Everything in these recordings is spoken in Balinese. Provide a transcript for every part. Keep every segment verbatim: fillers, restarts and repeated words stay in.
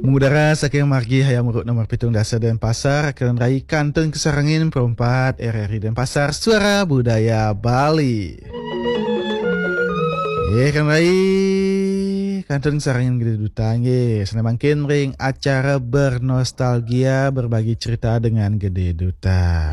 Mengudara saking margi Hayam Wuruk nomor pitung dasa Denpasar, kalian rai kantun kasarengin perempat R R I Denpasar, Suara Budaya Bali. Eh, kalian rai kantun kasarengin Gede Duta, nggih. Sané mangkin ring acara bernostalgia, berbagi cerita dengan Gede Duta.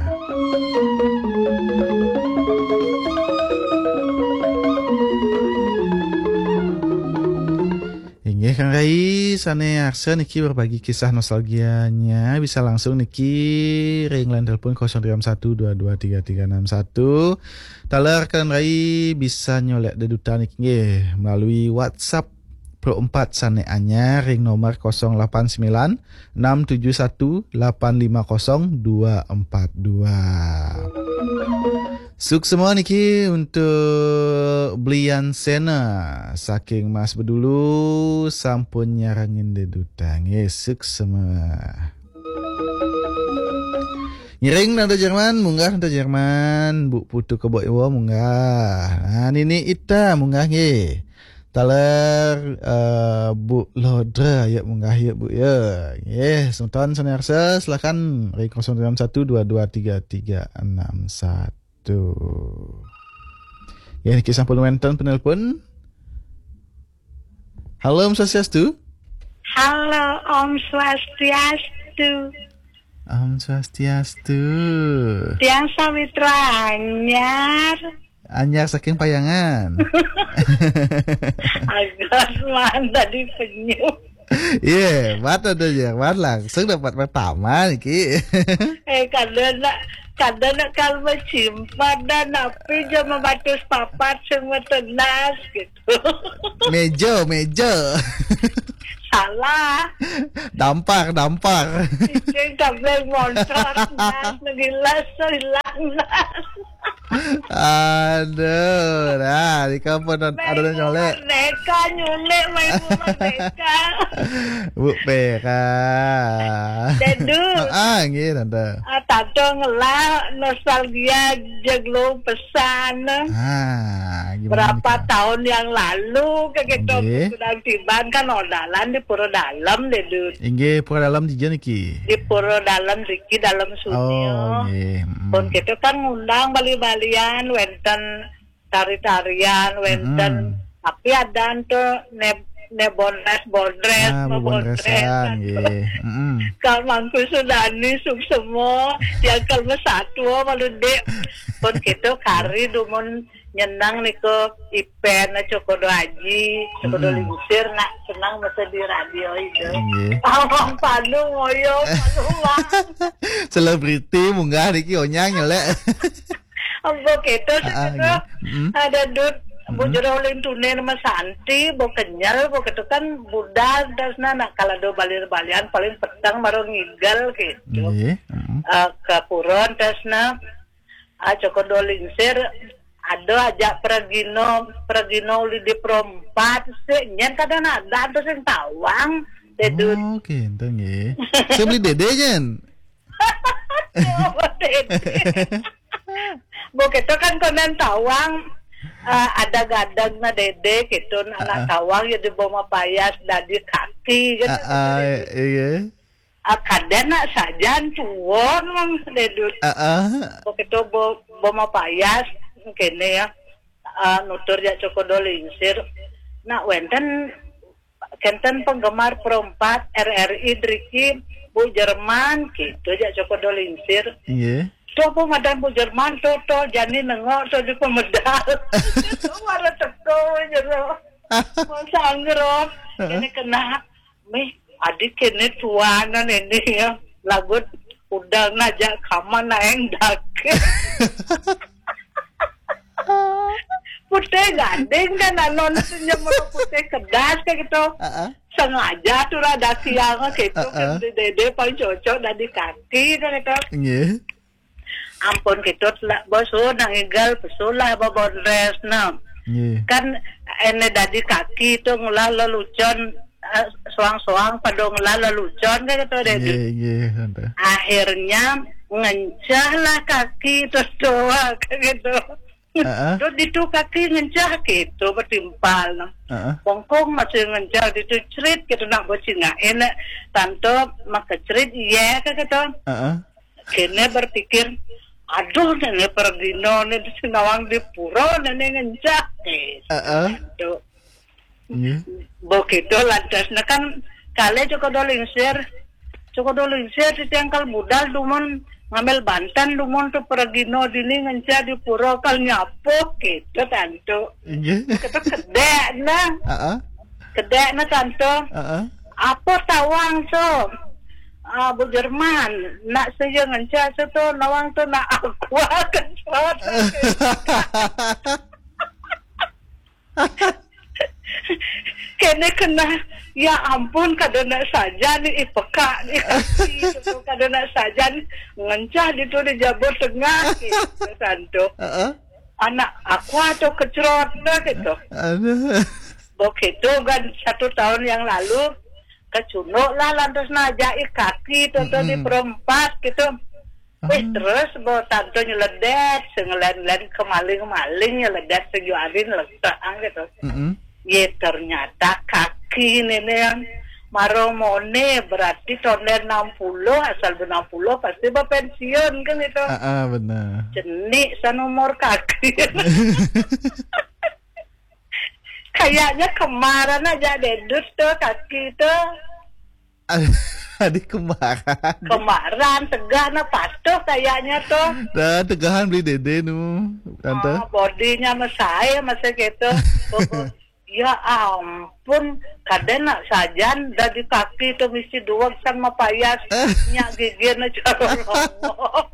Inggih, Kang Rai, sané arsa niki berbagi kisah nostalgianya, bisa langsung niki ring line telepon kosong tiga satu dua dua tiga tiga enam satu. Taler Kang Rai bisa nyolek dedutan niki nggih melalui WhatsApp Pro empat sané anyar ring nomor kosong lapan sembilan enam tujuh satu lapan lima kosong dua empat dua. Suksma niki untuk Blian Sena saking Mas Bedulu, sampun nyarengin dedutan. Nggih, suksma. Ngiring Tante Jerman, munggah Tante Jerman, Bu Putu Kebo Iwa munggah. Nah, Nini Ita munggah nggih. Taler eh, Bu Lodra ya munggah ya Bu ya. Nggih, semeton sané arsa silakan ring kosong tiga satu dua dua tiga tiga enam satu. Ya, niki sampun wénten penelpon. Halo, Om Swastiastu. Halo, Om Swastiastu. Om Swastiastu. Tiang sawitra anyar. Anyar saking Payangan. Agus mah tadi penyu. Iya, mat ada ya, mat langsung dapat pertama niki. Eh, kada nak, kada nak kalau simpan dan napi jama batus papat semua tenas gitu. Meja, meja. Salah. Dampar, dampar. Cicing kabel montor, nas, ngilas, hilang, nas. Aduh, nah, di kampung ada nyolek. Merdeka, nyolek, main rumah mereka. Bu Pera. Dedu. Ah, nggih, Tante. Ah, Tante ngelah nostalgia jeglo pesan. Ah, gimana Berapa nih, Kak? Tahun yang lalu ke kita Nggih. Sudah tiban kan odalan di Pura Dalam, Dedu. Inggih, Pura Dalam di niki. Di Pura Dalam riki dalam sunyi. Oh, nggih. Mm. Pun kita kan ngundang bali-balian, wénten tari-tarian, wénten. Mm-mm. Tapi ada tuh ne ne bondres bondres, ah, bebondresan, nggih. Mm-mm. Kang Mangku Sudani suksma, yang kalma satwa malu dek. Pun kita kari dumun nyenang niku ipen cokodo aji, cokodo lingsir nak senang masa di radio itu. Nggih. Awang panu ngoyo, panu wang. Selebriti munggah niki onyang nyelek. Ambo keto. Ah, ah, seketo. Nggih. Mm-mm. Ada dut, bu jero ulin tune nama Santi, bu kenyal, bu keto kan budal dasna nak kalau do balir balian paling petang baru ngigel gitu. Nggih. Mm-mm. Eh, ke puron dasna. Ah, cokodo lingsir, ada aja pergino, pergino uli di perompat, sik nyen kadang ada tuh sing tawang, Dedut. Oh, gitu nggih. Saya beli Dede nyen. Coba Dede. Bu kita kan konen tawang, eh, ada gadang na Dede gitu, anak tawang ya di bawah payas dadi kaki gitu. Ah, ah, iya. Ah, kadén nak sajan tuon mang Dedut. Heeh. Begitu bo, bo mapayas, kene ya. Ah, nutur ya cokodo lingsir. Nak wénten, kénten penggemar perompat R R I driki Bu Jerman, gitu ya cokodo lingsir. Iya. Tuh apa madan Bu Jerman, tuh, tuh, jani nengok, tuh di pemedal. Tuh, malah teko, jero. Masa anggero. Heeh. Ini kena Mih, adik kene tuanan ini ya. Lagut udah ngajak kaman naeng dake. Putih gading kan anon senyum putih kedas kayak gitu. Heeh. Sengaja tuh rada siang gitu kan. Heeh. Di dede paling cocok dari kaki kan gitu. Nggih. Ampun, kita telah bos, oh, nang igal pesulah babondres, nah. Nggih. Kan ene dadi kaki itu ngulah lelucon, eh, soang-soang pada ngulah lelucon kan gitu deh. Nggih, nggih, tante. Akhirnya ngencah lah kaki itu doa kan gitu. Heeh. Dot ditu kaki ngencah gitu betimpal. Heeh. Bongkong masih ngencah ditu cerit gitu nak bocingah. Enak tanto maka cerit iya ke gitu. Heeh. Kene berpikir, aduh, nene pergino, nene sinawang di pura, nene ngencah. Eh, Heeh. Tanto. Iya. Begitu lantas, nah kan, kale cukup dolingsir. Cukup dolingsir di tiangkal budal, dumun ngambil bantan, dumun tuh pergino dini ngencah di pura kal nyapo, gitu, tanto. Iya. Kita kedek, nah. Heeh. Kedek, nah, tanto. Heeh. Apa tawang tu? Ah, Bu Jerman, nak saya ngencah tu, nawang tu nak aqua kencot. Kene kena, ya ampun, kada nak sajan ni, ih, peka ni kaki tu, kada nak sajan, ngencah ditu di Jabur Tengah, gitu, tanto. Heeh. Anak aqua tu kencot dah gitu. Aduh. Begitu kan satu tahun yang lalu, kecunduk lah lantas najai kaki tu, tu di Mm-mm. perempat gitu. Wih, Ah. Terus bo tanto nyeledet, sengelen-len kemaling-maling nyeledet sejuarin letak gitu. Mm-mm. Ye, ternyata kaki nene yang maromone, berarti tonden enam puluh, asal enam puluh pasti berpensiun kan itu. Ah, ah, benar. Cenik san umur kaki. Kayaknya kemarin aja dedut tuh kaki tuh. Adik kembaran. Kemaran tegah nah patuh kayaknya tuh. Dah tegahan beli dede nu, tante. Ah, bodinya mesai masa gitu. Pokok, ya ampun, kada nak sajan dari kaki tuh mesti dua san mapayas. Nyak gigi na cara ngomong.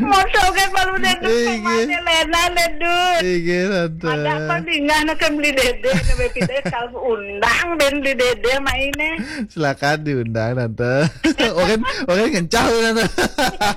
Moto ke baru dedut. Eh, iya. Kemana Lena dedut? Iya, tante. Ada apa dingah nak beli dede, nak beli dede, kalau undang ben beli dede maine. Silakan diundang, tante. Orang, orang kencang, tante.